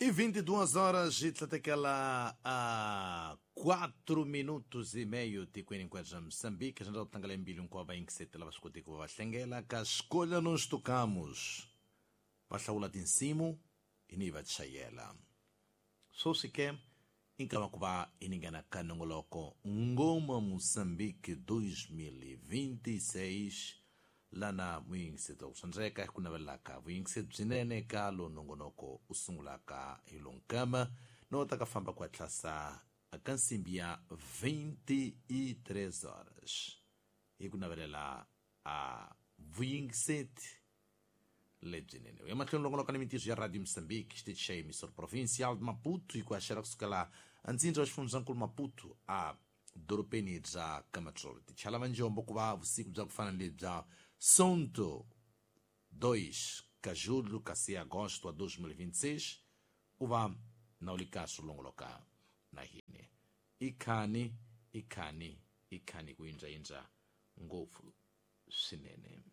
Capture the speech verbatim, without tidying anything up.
E vinte e duas horas e tlatekela a quatro minutos e meio tikweni hinkwaswo bya Moçambique, xandla ku tlangela mbilu hinkwavo va yingisetela va swi koti ku va va hlengela ka Escolha Nós Tocamos. Va hlawula tinsimu hi ni va chayela. Sweswi ke i nkama ku va hi ningana ka nongoloko Ngoma Moçambique dois mil e vinte e seis lana muyingiseto ku swandzeka ku navelaka vuyingiseti byinene ka lo nongonoko u sungulaka hi lonkama no ta ka famba ku hatlasa ka nsimbi ya vinte e três horas hi ku navelela a vuyingiseti lebyinene. U ya mahlweni longoloka ni mintirho ya Radio Moçambique, xitichi xa emissora provincial de Maputo, hi ku haxela kusukela antsindza wa xifundzankulu Maputo a dorobeni bya Camatrolo. Tichala va njombo ku va vusiku bya ku fana ni lebya Sonto dois ka julho kasi agosto wa dois mil e vinte e seis u va na u li kahle u longoloka na hina. I khani, i khani, i khani ku yindzayindza ngopfu swinene.